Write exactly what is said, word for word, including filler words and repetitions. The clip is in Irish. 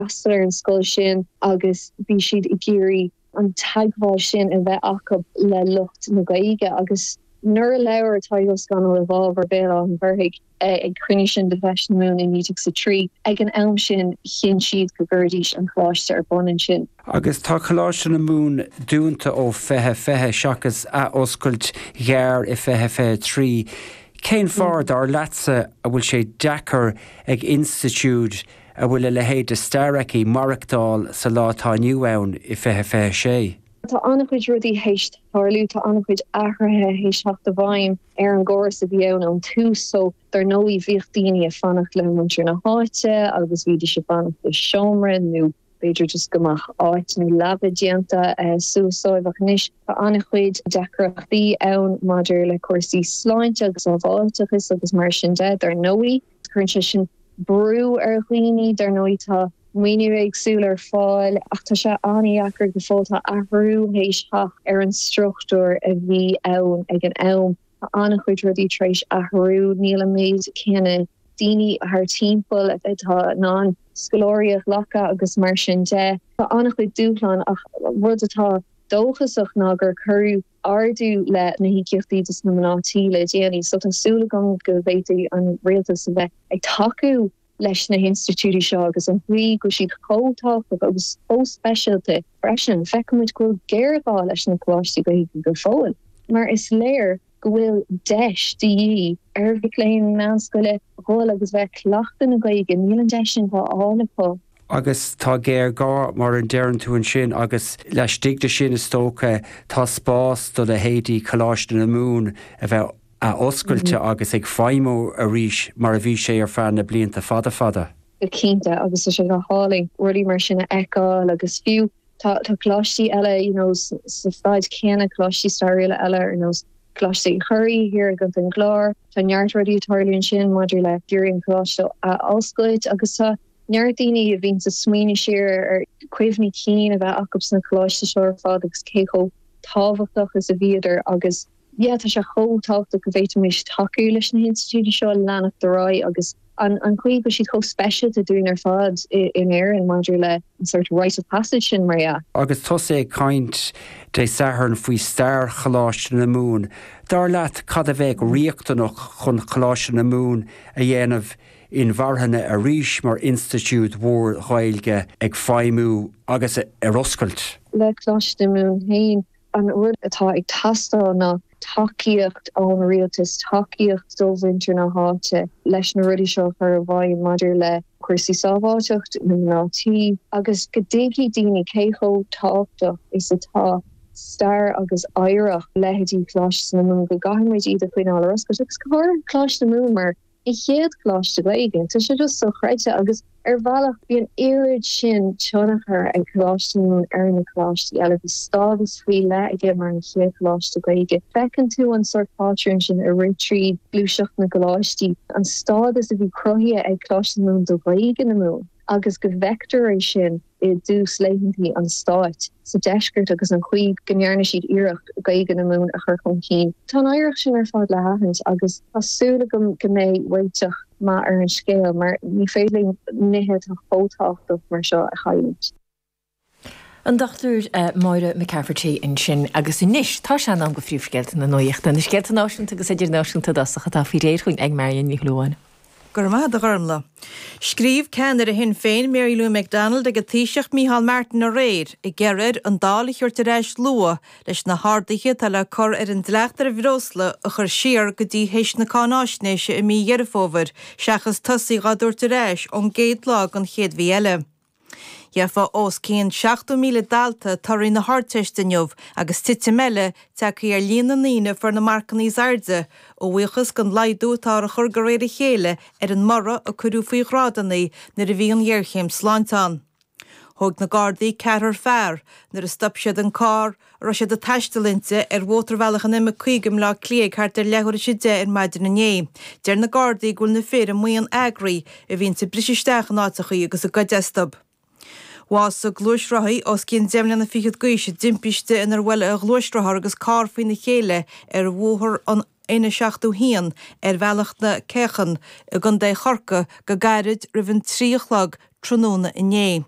freastal ar an scoil sin agus bhí siad ag iarraidh an teagmháil sin a bheith acu le lucht na Gaeilge agus nuair a labhair Tadhg Ó Scanaill i bhfabhar Bhéal Átha an Ghaorthaidh ag cruinniú sin de Feis na Mumhan i naoi déag a trí, ag an am sin chinn siad go gcuirfidís an coláiste ar bun ansin. Agus tá Coláiste na Mumhan dúnta ó fiche fiche seachas athoscailt ghearr i fiche fiche trí. Cén fáth dar leatsa a bhfuil sé deacair ag institiúid a bhfuil a leithéid de stair aici maireachtáil sa lá atá inniu ann i fiche fiche sé? Tá an-chuid rudaí théis tarlú, tá an-chuid athruithe théis teacht i bhfeidhm ar an gcóras a bhí ann ón tús, so dar ndóigh bhíodh daoine ag fanacht le muintir na háite agus bhídís ag fanacht i seomra nó b'fhéidir just go mbeadh áit nó leaba déanta suas dóibh ach anois tá an-chuid deacrachtaí ann maidir le cúrsaí sláinte agus sábháilteachas agus mar sin de, dar ndóigh. Cuireann sé sin brú ar dhaoine, dar ndóigh tá maoiniú éagsúil ar fáil ach tá sé an-deacair go fóill, tá athrú théis teacht ar an struchtúr a bhí ann ag an am. Tá an-chuid rudaí tar éis athrú, níl an méid céanna daoine thar timpeall atá in ann scoláirí a ghlacadh agus mar sin de. Tá an-chuid dúshlán ach rud atá dóchasach ná gur cuireadh ardú le na híocaíochtaí dos na mná tí le déanaí so tá súil agam go bhféadfaidh an rialtas a bheith ag tacú leis na hinstitiúidí seo agus an chaoi go bhfuil siad chomh tábhachtach agus chomh speisialta freisin. Feicimid go bhfuil géarghá leis na coláistí Gaeilge go fóill, mar is léir go bhfuil deis de dhíth ar mhic léinn meánscoile dhul agus bheith ag cleachtadh na Gaeilge, níl an deis sin á fháil acu. Agus tá géarghá, mar a deireann tú ansin, agus laistigh de sin is dócha tá spás do leithéidí Choláiste na Mumhan a bheith athoscailte agus ag feidhmiú arís mar a bhí sé ar feadh na blianta fada fada. Go cinnte, agus tá sé go hálainn rudaí mar sin a fheiceáil agus fiú tá tá coláistí eile you know sa staid céanna, coláistí stairiúla eile ar nós Coláiste Uí Churraoin thiar i gContae an Chláir, tá neart rudaí ag tarlú ansin maidir le iarraidh an coláiste a oscailt agus tá neart daoine a bhíonn ag smaoineamh siar ar cuimhní cinn a bheith acu sna coláistí seo ar fad agus cé chomh tábhachtach is a bhíodar agus yeah tá sé chomh tábhachtach go bhféadfaimis tacú leis na hinstitiúidí seo leanacht ar aghaidh agus an an chaoi go bhfuil siad chomh speisialta dúinn ar fad in Éirinn maidir le an sort rite of passage sin mar dhea. Agus tusa ag caint Dé Sathairn faoi stair Choláiste na Mumhan, dar leat cad a bheadh riachtanach chun Coláiste na Mumhan a dhéanamh inmharthana arís mar institiúid mhór Ghaeilge ag feidhmiú agus ar oscailt? Le Coláiste na Mumhan féin, an rud atá ag teastáil ná tacaíocht ón rialtas, tacaíocht ó mhuintir na háite leis na rudaí seo a chur i bhfeidhm maidir le cúrsaí sábháilteacht na mná tí agus go dtuigfidh daoine cé chomh tábhachtach is atá stair agus oidhreacht leithéidí Choláiste na Mumhan, go gcaithfidh muid iad a choinneáil ar oscailt agus go háirithe Coláiste na Mumhan mar an chéad choláiste Gaeilge. Tá sé just sochreidte agus ar bhealach bhí an oiread sin tionchar ag Coláiste na Mumhan ar na coláistí eile. Bhí stádas faoi leith aige mar an chéad choláiste Gaeilge. Feiceann tú an sórt pátrún sin ag rith tríd gluaiseacht na gcoláistí, an stádas a bhí cruthaithe ag Coláiste na Mumhan do Ghaeilge na Mumhan agus go bhfeictear é sin i dtús laethanta an stáit sa deisceart agus an chaoi go ndearna siad iarracht Gaeilge na Mumhan a chur chun cinn. Tá an oidhreacht sin ar fad le haithint agus tá súil agam go mbeidh réiteach maith ar an scéal mar ní féidir linn nithe atá chomh tábhachtach mar seo a chailliúint. An Dochtúir Máire McCafferty ansin agus anois tá sé in am do phríomhscéalta na nuachta, na scéalta náisiúnta agus idirnáisiúnta i dtosach atá faoi réir chugainn ag Marion Ní Shúilleabháin. Go raibh maith agat a Ghormlaith. Scríobh ceannaire Shinn Féin Mary Lou McDonald ag an Taoiseach Micheál Martin aréir ag iarraidh air an Dáil a thabhairt ar ais luath leis na harduithe atá le cur ar an dleacht ar bhreosla a chur siar go dtí théis na cáináisnéise i mí Dheireadh Fómhair seachas tosaí dhá dtabhairt ar ais ón gcéad lá den chéad mhí eile. Gheofa os cionn seachtó míle dalta torthaí na hArdteiste inniu agus titim eile tagtha ar líon na ndaoine a fuair na marcanna is airde, a bhuíochas don laghdú atáthar a chur de réir a chéile ar an mborradh a cuireadh faoi ghrádanna nuair a bhí an ghéarchéim sláinte ann. Thóg na Gardaí ceathrar fear nuair a stop siad an carr a raibh siad ag taisteal inti ar mhótarbhealach an M caoga i mBleá Cliath ag thart ar leathuair tar éis a deich ar maidin inné. Deir na Gardaí go bhfuil na fir i mbuíon eagraithe a bhíonns ag briseadh isteach in áiteachaí agus ag goid astu. Bhásaigh gluaisrothaí os cionn deich mbliana fichead d'aois i dtimpiste inar bhuail a ghluaisrothar agus carr faoina chéile ar bhóthar an N seachtó haon ar Bhealach na Céachán i gContae Chorcaí go gairid roimh an trí a chlog tráthnóna inné.